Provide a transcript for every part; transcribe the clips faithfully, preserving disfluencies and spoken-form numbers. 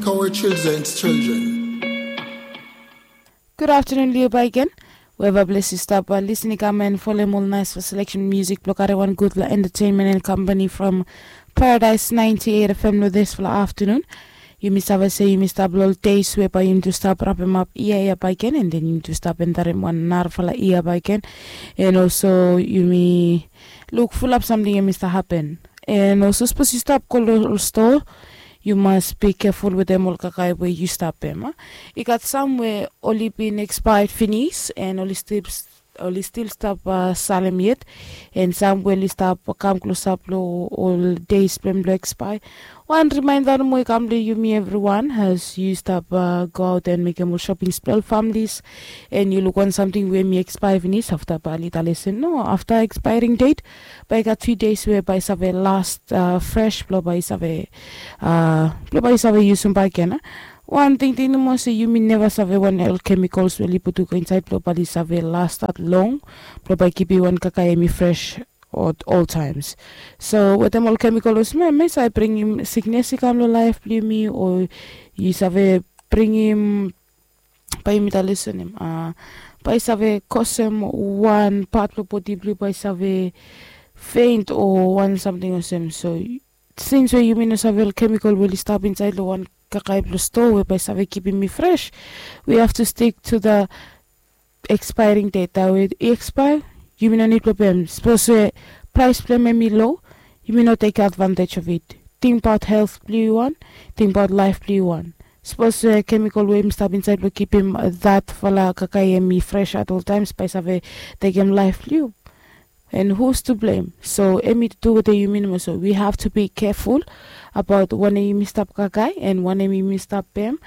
Kawe children's children. Gud aftanun long yu baik gen. Weva bles yu stap lisin i kam en folem ol nais fo seleksen musik blong karim wan gudfala entertainment and company from Paradise ninety-eight F M long disfala aftanun. Yumi save se yumi stap long ol days we bae yumi tu stap rapemap ia ia baik gen, and then yumi tu stap endarim wan narafala ia baik gen. And also yumi luk fulap samting yumi stap hapen. And also sapos yu stap go long ol stoa, yu mas be keful wetem ol kakae we yu stap pem. I gat sam we oli bin expired finis and oli stil oli stil stap salem yet. And sam we oli stap kam klosap long ol deis blong em blong expire. Wan rimainda nomo i kam long yumi evriwan as yu stap go aut and mekem ol shoppings blong ol familis. And yu luk wan samting we mi expire finis afta bae oli talesen no afta expiring date, bae i gat few days we bae i save last fresh blong bae i save blong bae i save yusum baik gen. Wan tingting nomo se yumi neva save wan ol chemicals we oli putum go insaed blong bae oli save last long blong bae i kipim wan kakae hemi fresh at all times. So wetem ol chemical olsem em i save bringim siknes i kam long laef blong yumi o i save bringim, bae yumi talesen em bae i save kosem wan pat blong bodi blong yu bae i save feint o wan samting olsem. So sins we yumi no save ol chemical we oli stap insaed long wan kakae blong stoa we bae i save kipim mi fresh, we have to stick to the expiring date. Tawe i expire, yumi no nid blong pem. Sapos we praes blong em hemi lo, yumi no tekem advantage of it. Tingbaot helt blong yu wan, tingbaot laef blong yu wan. Sapos we chemical we yumi stap insaed blong kipim datfala kakae hemi fresh at ol times bae i save tekem laef blong yu. And who's to blame? So hemi tu wetem yumi nomo. So we have to be careful abaot wanem yumi stap kakae and wanem yumi stap pem.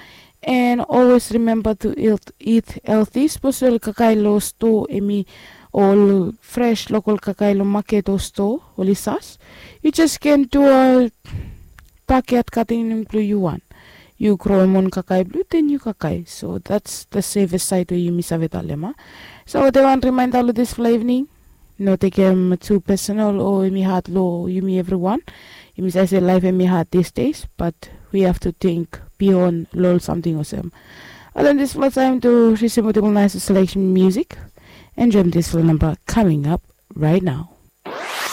And always remember to eat healthy. Sapos ol kakae long stoa hemi ol fresh lokol kakae long maket o stoa oli sas, yu jes ken du ol backyard gardening blong yu wan. Yu groem on kakae blong yu, then yu kakae. So that's the safest side we yumi save talem a. So wetem wan rimainda long disfala evening, no tekem tu personal o hemi had long yumi evriwan. Yumi save se laef hemi had these days, but we have to think beyond long ol samting olsem. Wetem disfala taem tu risim wetem ol nais seleksen musik. Enjoem disfala namba coming up right now.